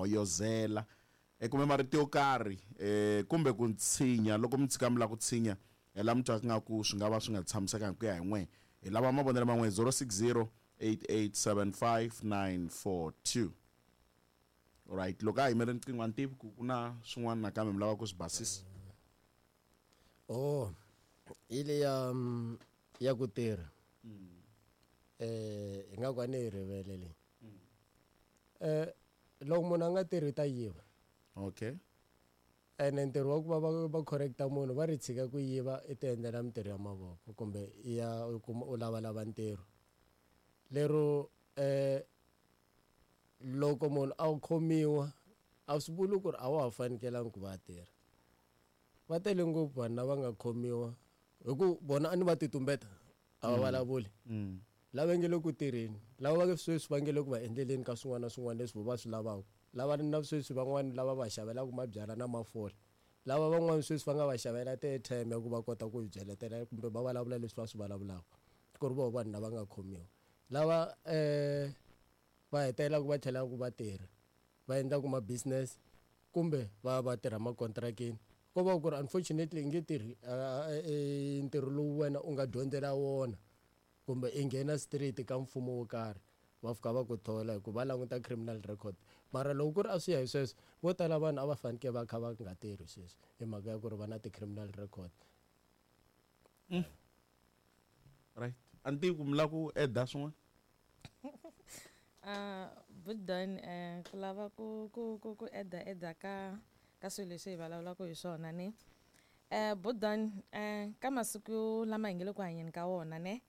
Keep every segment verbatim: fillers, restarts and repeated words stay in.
hoyozela e kumbe marito yo karhi eh kumbe ku tshinya loko mi tshika mi lava ku tshinya hi la mi twaka nga ku swi nga va swi nga tshamisekanga ku ya hi n'we hi lava mavonelo man'we zero six zero eight eight seven five nine four two. Alright, loko a yimele riqingho a ni tivi ku ku na swin'wana nakambe mi lava ku swi basisa. Oh, hi leya ya ku tirha eh hi nga ku a ni yi rivele leyi. Eh loko munhu a nga tirhi ta yiva. Okay. Ene ntirho wa ku va va va correcta munhu va ri tshika ku yiva i ti endlela mintirho ya mavoko kumbe i ya u kuma u lavalava ntirho. Lero eh loko munhu a khomiwa a swi vuli ku ri a wa ha fanekelanga ku va a tirha. Va tele ngopfu vanhu lava nga khomiwa hi ku vona a ni va titumbeta a va vulavuli. Lava nge le ku tirheni, lava va sweswi va nge le ku va endleleni ka swin'wana na swin'wana leswi va swi lavaka. Lava na sweswi van'wani lava va xavelaka mabyalwa na mafole. Lava van'wani sweswi va nga va xavela ti-airtime ya ku va kota ku byeletela kumbe va vulavula leswi va swi vulavulaka. Ku ri voho vanhu lava nga khomiwa. Lava eh va hetelelaka va tlhelaka va tirha, va endlaka ma-business kumbe va va tirha makontrakini. Ko va ku ri unfortunately i nge tirhi ntirho lowu wena u nga dyondzela wona kumbe i nghena straight ka mfumo wo karhi va fika va ku thola hikuva va languta criminal record. Mara loko ku ri a swi ya hi sweswo vo tala vanhu a va fanekele va kha va nga tirhi sweswi hi mhaka ya ku ri va na ti-criminal record. Mm. Right. A ni tivi ku mi lava ku add-a swin'wana? Uh, Budon, eh, ku lava ku, ku, ku, ku add-a, add-a ka, ka swilo leswi hi vulavulaka hi swona ne. Eh, Budon, eh, ka masiku lama hi nge le ku hanyeni ka wona ne,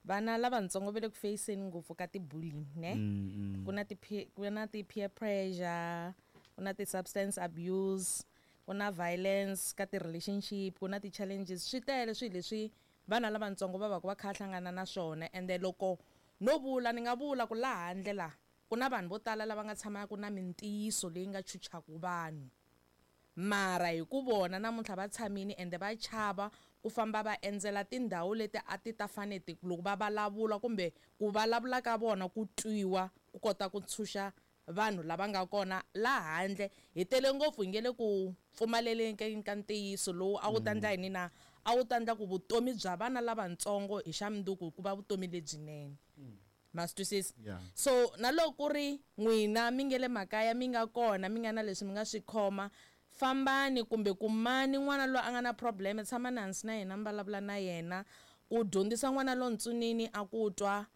vana lavatsongo va le ku feyiseni ngopfu ka ti-bullying ne. Mm, mm. Ku na ti ku na ti-peer pressure, ku na ti-substance abuse, ku na violence ka ti-relationship, ku na ti-challenges. Swi tele swilo leswi vana lavatsongo va va ku va kha hlangana na swona. Ende loko no vula ni nga vula ku laha handle la ku na vanhu vo tala lava nga tshamaka na mintiyiso leyi nga chuchaka vanhu. Mara hi ku vona namuntlha va tshamile ende va chava ku famba va endzela tindhawu leti a ti ta fane ti loko va vulavula kumbe ku vulavula ka vona ku twiwa ku kota ku tshunxa vanhu lava nga kona laha handle. Hi tele ngopfu hi nge le ku pfumaleleni ka ntiyiso lowu a wu ta endla yini na a wu ta endla ku vutomi bya vana lavatsongo hi xa mundzuku ku va vutomi lebyinene. Ma swi twisisa? Yeah. So na loko ku ri n'wina mi nge le makaya mi nga kona mi nga na leswi mi nga swi khoma, fambani kumbe kumani n'wana loyi a nga na problem, tshamani hansi na yena mi vulavula na yena ku dyondzisa n'wana lontsonini a ku twa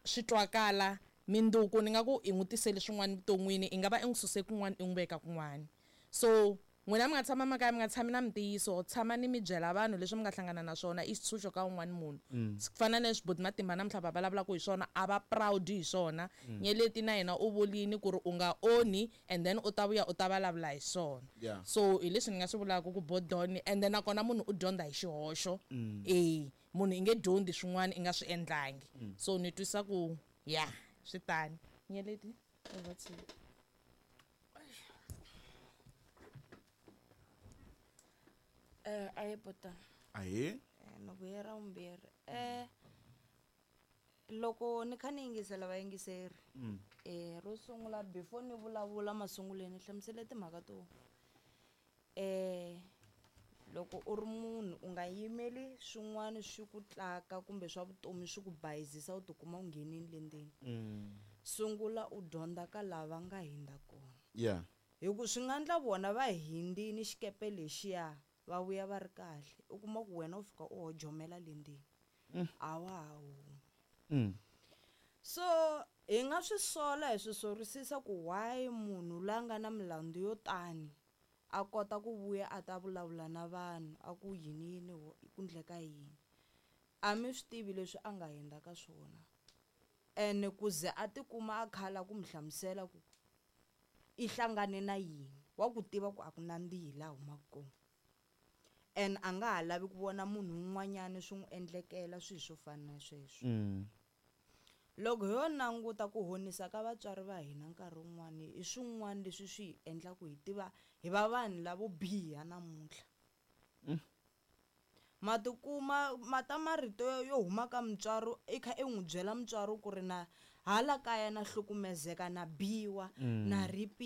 swi twakala minduku ni nga ku i n'wi tisele swin'wana vuton'wini, i nga va i n'wi suse kun'wana i n'wi veka kun'wana. So n'wina mi nga tshama makaya mi nga tshami na mintiyiso, tshamani mi byela vanhu leswi mi nga hlangana na swona i xitshunxo ka un'wana munhu. Ku fana na leswi Buti Matimba namuntlha va vulavulaka hi swona, a va proud hi swona. Nyeleti na yena u vulini ku ri u nga onhi and then u ta vuya u ta vulavula hi swona. Yeah. So hi leswi ni nga swi vulaka ku Bodoni, and then nakona munhu u dyondza hi xihoxo. Eh, munhu i nge dyondzi swin'wana i nga swi endlangi. So ni twisa ku yeah, swi tani. Nyeleti, over to you. Eh, a hi Bodon. Ahee. Eh, ni vuye ra vumbirhi. Eh, loko ni kha ni yingisela vayingiseri, Mm. eh, ro sungula before ni vulavula masunguleni ni hlamusele timhaka to, eh, loko u ri munhu u nga yimeli swin'wana swi ku tlaka kumbe swa vutomi swi ku bayizisa u tikuma u nghenile le ndzeni. Mm. Sungula u dyondza ka lava nga hindza kona. Yeah. Hi ku swi nga endla vona va hindzini xikepe lexiya va vuya va ri kahle, u kuma ku wena u fika u hojomela le ndzeni. Mm. A wa ha humi. Mm. So hi nga swi sola hi swi sorisisa ku why munhu la nga na milandzu yo tani a kota ku vuya a ta vulavula na vanhu a ku yini yini ku endleka yini. A mi swi tivi leswi a nga hundza ka swona. Ene ku ze a tikuma a khala ku mi hlamusela ku i hlangane na yini, wa ku tiva ku a ku nandzihi laha humaka kona. And a nga ha lavi ku vona munhu un'wanyana swi n'wi endlekela swilo swo fana na sweswo. Mm. Loko ho languta ku honisa ka vatswari va hina nkarhi wun'wani i swin'wana leswi swi hi endlaka hi tiva hi va vanhu lavo biha namuntlha. Mm. Ma tikuma ma ta marito yo huma ka mutswari i kha i n'wi byela mutswari ku ri na hala kaya na hlukumezeka na biwa Mm. na ripiwa.